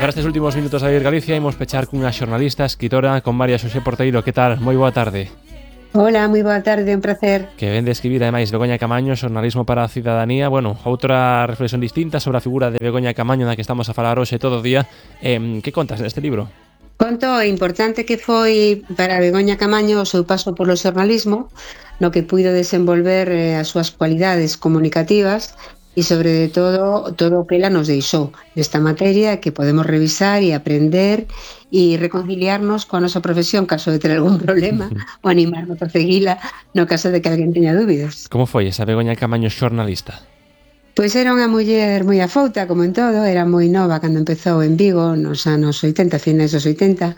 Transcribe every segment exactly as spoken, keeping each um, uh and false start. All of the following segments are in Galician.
para estes últimos minutos a Vir Galicia imos pechar cunha xornalista, escritora, con María Xosé Porteiro. Que tal? Moi boa tarde. Hola, moi boa tarde, un placer. Que ven de escribir, ademais, Begoña Camaño, Xornalismo para a Cidadanía. Bueno, outra reflexión distinta sobre a figura de Begoña Camaño na que estamos a falar hoxe todo o día. Eh, que contas neste libro? Conto o importante que foi para Begoña Camaño o seu paso polo xornalismo, no que puido desenvolver eh, as súas cualidades comunicativas e, sobre todo, todo o que ela nos deixou nesta materia que podemos revisar e aprender e reconciliarnos coa nosa profesión caso de ter algún problema ou animarnos a seguila no caso de que alguén teña dúbidas. Como foi esa Begoña Camaño xornalista? Pois era unha muller moi afouta, como en todo, era moi nova cando empezou en Vigo, nos anos oitenta, finais dos oitenta,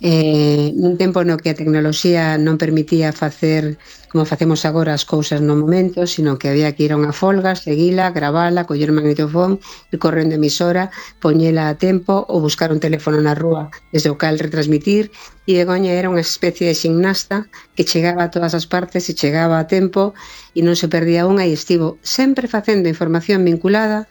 eh, nun tempo no que a tecnoloxía non permitía facer como facemos agora as cousas no momento, sino que había que ir a unha folga, seguila, gravala, coller o magnetofón, ir correndo a emisora, poñela a tempo ou buscar un teléfono na rúa desde o cal retransmitir. E Begoña era unha especie de ximnasta que chegaba a todas as partes e chegaba a tempo e non se perdía unha, e estivo sempre facendo información vinculada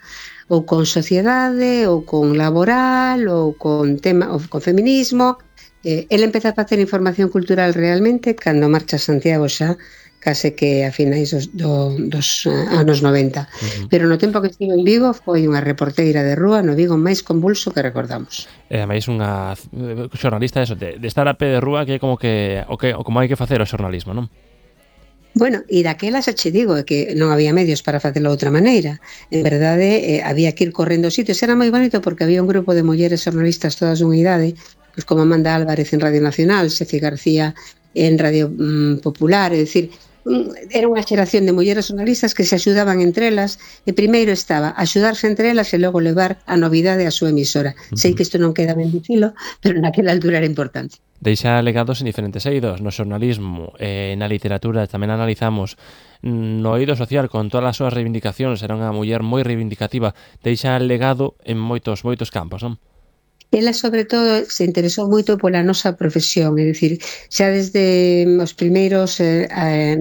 ou con sociedade, ou con laboral, ou con tema, ou con feminismo. Eh, ele empeza a facer información cultural realmente cando marcha a Santiago xa, case que a finais dos, do, dos uh, anos noventa. Uh-huh. Pero no tempo que estivo en Vigo foi unha reporteira de rúa no Vigo máis convulso que recordamos. E ademais unha xornalista eso, de, de estar a pé de rúa, que é como que o que o como hai que facer o xornalismo, non? Bueno, e daquela xa che digo que non había medios para facelo de outra maneira. En verdade, eh, había que ir correndo sitios. Era moi bonito porque había un grupo de mulleres xornalistas todas dunha idade, pues como Amanda Álvarez en Radio Nacional, Sefi García en Radio mm, Popular, é dicir, era unha xeración de mulleres xornalistas que se axudaban entre elas, e primeiro estaba axudarse entre elas e logo levar a novidade á súa emisora. Uh-huh. Sei que isto non queda ben dicilo, pero naquela altura era importante. Deixa legados en diferentes eidos, no xornalismo, eh, na literatura, tamén analizamos no eido social con todas as súas reivindicacións, era unha muller moi reivindicativa, deixa legado en moitos moitos campos, non? Ela, sobre todo, se interesou moito pola nosa profesión, é dicir, xa desde os primeiros eh,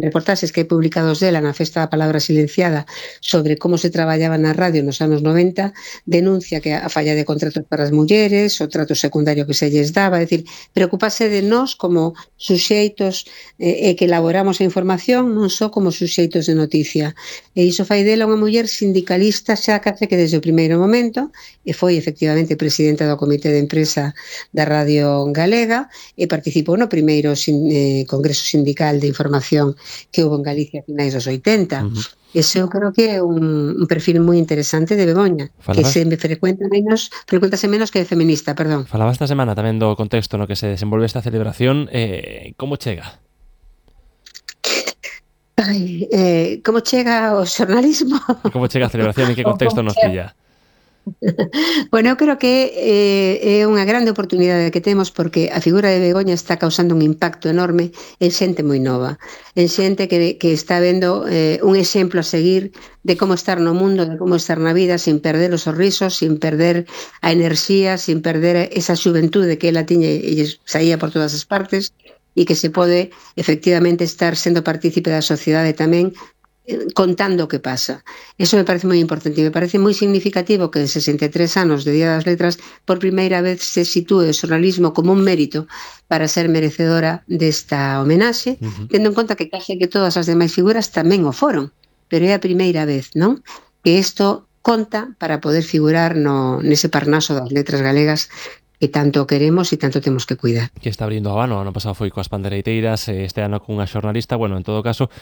reportaxes que hai publicados dela na Festa da Palabra Silenciada sobre como se traballaba na radio nos anos noventa, denuncia que a falla de contratos para as mulleres, o trato secundario que se lles daba, é dicir, preocupase de nós como suxeitos eh, e que elaboramos a información, non só como suxeitos de noticia. E iso fai dela unha muller sindicalista xa case que desde o primeiro momento, e foi efectivamente presidenta do Comité de Empresa da Radio Galega e participou no primeiro sin, eh, Congreso Sindical de Información que houve en Galicia a finais dos oitenta. Uh-huh. Ese eu creo que é un, un perfil moi interesante de Begoña. Falabas... que se me frecuenta menos, frecuentase menos que de feminista, perdón. Falaba esta semana tamén do contexto no que se desenvolve esta celebración. Eh, como chega? Ai, eh, como chega o xornalismo? Como chega a celebración e que contexto nos pilla? Bueno, eu creo que eh, é unha grande oportunidade que temos porque a figura de Begoña está causando un impacto enorme en xente moi nova, en xente que, que está vendo eh, un exemplo a seguir de como estar no mundo, de como estar na vida sin perder os sorrisos, sin perder a enerxía, sin perder esa xuventude que ela tiña e saía por todas as partes, e que se pode efectivamente estar sendo partícipe da sociedade tamén, contando o que pasa. Eso me parece moi importante e me parece moi significativo que en sesenta e tres anos de Día das Letras por primeira vez se sitúe o xornalismo como un mérito para ser merecedora desta homenaxe, uh-huh. tendo en conta que case que todas as demais figuras tamén o foron, pero é a primeira vez, non? Que isto conta para poder figurar no nese Parnaso das letras galegas que tanto queremos e tanto temos que cuidar. Que está abrindo o ano, ano pasado foi coas pandereiteiras, este ano cunha xornalista, bueno, en todo caso,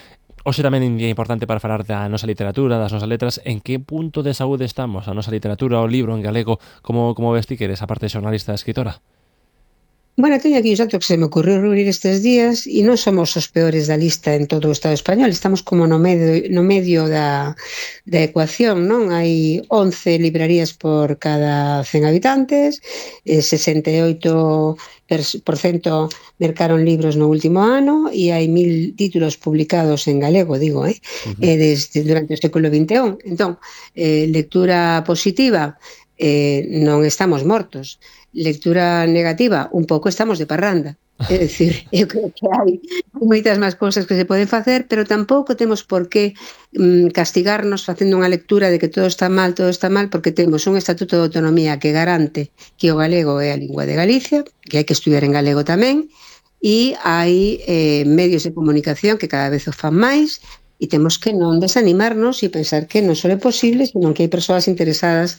hoxe tamén é un día importante para falar da nosa literatura, das nosas letras. En que punto de saúde estamos? A nosa literatura, o libro en galego, como, como ves ti que eres a parte de xornalista e escritora? Bueno, teño aquí un dato que se me ocurriu reunir estes días e non somos os peores da lista en todo o Estado español, estamos como no medio, no medio da, da ecuación, non? Hai once librarías por cada cen habitantes, eh, sesenta e oito por cento mercaron libros no último ano e hai mil títulos publicados en galego, digo, eh? Uh-huh. eh desde, durante o século vinte e un. Entón, eh, lectura positiva, eh, non estamos mortos. Lectura negativa, un pouco estamos de parranda, É dicir, eu creo que hai moitas máis cousas que se poden facer, pero tampouco temos por que mm, castigarnos facendo unha lectura de que todo está mal, todo está mal, porque temos un Estatuto de Autonomía que garante que o galego é a lingua de Galicia, que hai que estudiar en galego tamén, e hai eh, medios de comunicación que cada vez o fan máis, e temos que non desanimarnos e pensar que non só é posible, senón que hai persoas interesadas